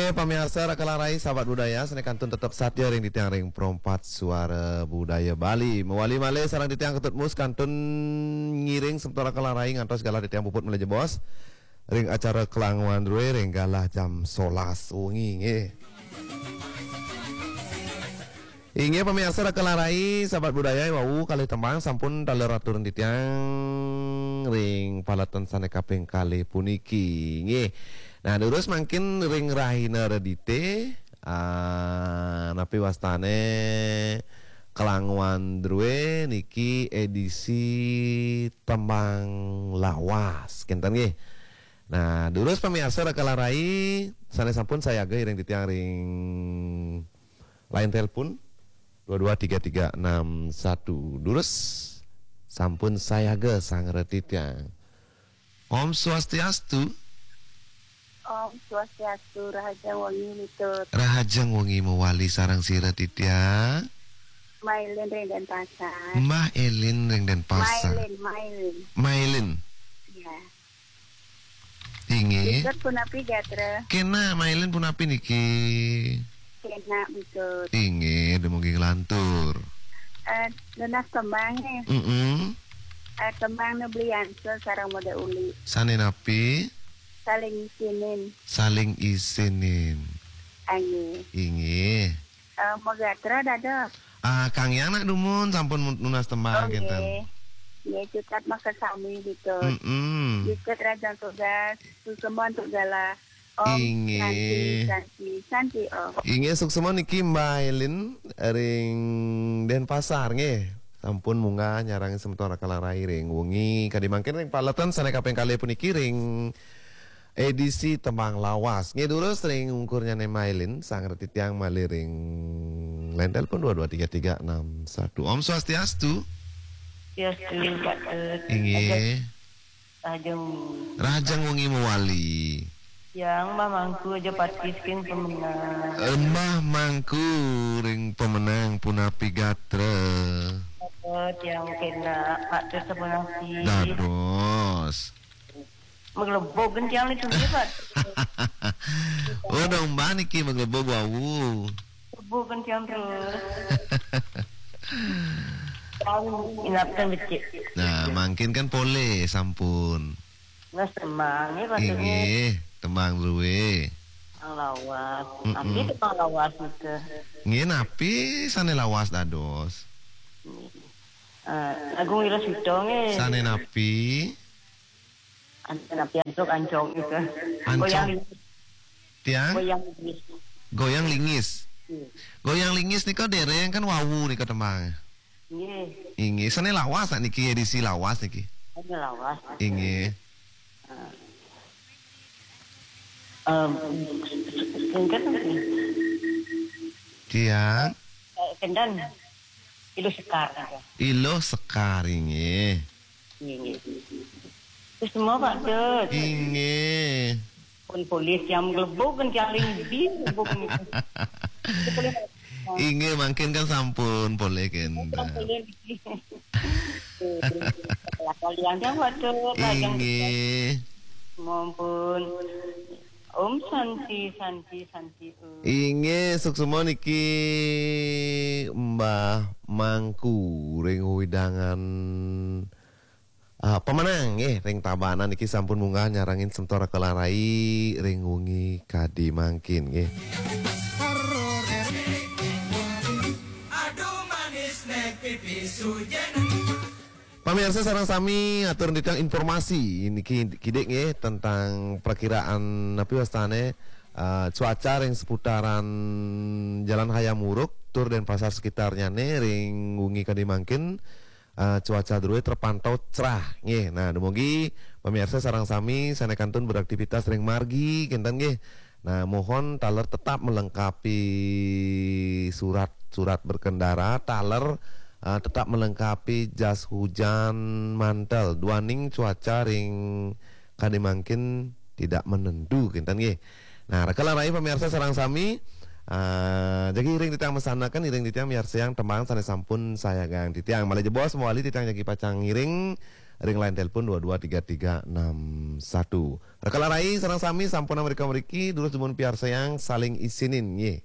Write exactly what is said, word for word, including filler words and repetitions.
Eh, pamiarsa Raka Larai, sahabat budaya, sané kantun tetep satia ring titiang ring Pro empat Suara Budaya Bali. Mawali malih sareng titiang Ketut Mus kantun ngiring semeton Raka Larai ngantos galah titiang puput malih jebos ring acara Klanguan Drué ring galah jam solas wengi nggih. Inggih pamiarsa Raka Larai, sahabat budaya, wau kalih tembang sampun taler aturin titiang ring paletan sané kaping kalih puniki. Nggih. Nah, durus mangkin ring rahina Redité, ah, napi wastané Klanguan Drué niki édisi tembang lawas, kénten nggih. Nah, durus pamiarsa Raka Larai sané sampun sayaga iring titiang ring line telepon dua dua tiga tiga enam satu. Durus sampun sayaga sareng titiang. Om Swastiastu. Om Swastiastu, rahajeng wengi Ketut. Rahajeng wengi mawali sareng sira titiang. Mailin ring Denpasar. Mbah Elin ring Denpasar. Mailin, Mailin. Mailin. Iya. Inggih. Ketut punapi gatra? Kénak, Mailin punapi niki? Kénak, Ketut. Inggih, dumugi nglantur. Eh, nunas tembang, eh. Mm-mm. Eh, tembang nu Beli Ansor sareng Modé Uli. Sané napi? Saling Isinin. Saling Isinin. Ayo. Inggih. Eh, magatra dados. Ah, Kang Yang nak dumun sampun mun-, nunas tembang. Oh, kénten. Nggih. Nggih, cutet makasami Ketut. Mm-mm. Ketut rahajeng tugas, suksma antuk galah. Om Inggih. Santi, Santi, Santi, Om. Inggih, suksma niki Mbah Elin ring Denpasar nggih. Sampun munggah nyarengin semeton Raka Larai ring wengi kadi mangkin ring paletan sané kaping kalih puniki ring édisi tembang lawas. Nggih, durus ring ungkurnyané Mailin, sareng titiang malih ring line telepon dua dua tiga tiga enam satu. Om Swastiastu. Swastiastu, Pak Tut. Inggih. Rahajeng wengi. Rahajeng wengi mawali. Yang Mbah Mangku aja pati saking Pemenang. Eh, Mbah Mangku ring Pemenang punapi gatra? Apa tiang kénak, Pak Tut, sapunasi. Dados. Maglebug gén tiang niki, Pak. Oh, dong, Mbah niki maglebug wau. Lebug gén tiang terus. Tiang inapkan becik. Nah, mangkin kan polih sampun. Nah, tembang, ya, Pak Tut. Inggih, tembang drué. Tembang lawas. Mm-mm. Napi tembang lawas nika? Nggih, napi sané lawas dados? Eh, Agung Wirasuta nggih. Sané napi? An-, napi antuk ancong nika? Ancong. Goyang lingis. Tiang? Goyang lingis. Goyang lingis. Iya. Goyang lingis nika déréng kan wau nika tembang. Nggih. Inggih, sané lawas niki, édisi lawas niki. Sané lawas. Inggih. Em, singkat nggih. Tiang? Eh, kénten. Iluh Sekar nggih. Iluh Sekar, inggih. Inggih, inggih. Terus semua, Pak Tut. Inggih. Pun polih tiang maglebug kan tiang ling di maglebug ni. Itu polih. Inggih, mangkin kan sampun polih kan. Sampun polih niki. Kalian tiang, Pak Tut, lajeng. Inggih. Mampun. Om Santi, Santi, Santi, Om. Inggih, suksma niki Mbah Mangku ring wewidangan, ah, Pemenang nggih, ring Tabanan niki sampun munggah nyarengin semeton Raka Larai ring wengi kadi mangkin nggih. Aduh manis nek pipi sujen. Pamiarsa sareng sami, atur titiang informasi niki kidik nggih tentang perkiraan napi wastané, eh, cuaca ring seputaran Jalan Hayam Wuruk tur Denpasar sekitarnyané ring wengi kadi mangkin, eh, cuaca drué terpantau cerah nggih. Nah, dumugi pamiarsa sareng sami sané kantun beraktivitas ring margi kénten nggih. Nah, mohon taler tetap melengkapi surat-surat berkendara, taler, eh, tetap melengkapi jas hujan, mantel, duaning cuaca ring kadi mangkin tidak menentu, kénten nggih. Nah, Raka Larai pamiarsa sareng sami, eh, jagi iring titiang mesanaken, iring titiang miarsayang tembang sané sampun sayagang titiang. Malih jebos mawali titiang jagi pacang ngiring ring line telepon dua dua tiga tiga enam satu. Rekan larai, sareng sami sampun mrika-mriki, durus dumun piarsayang, saling isinin nggih.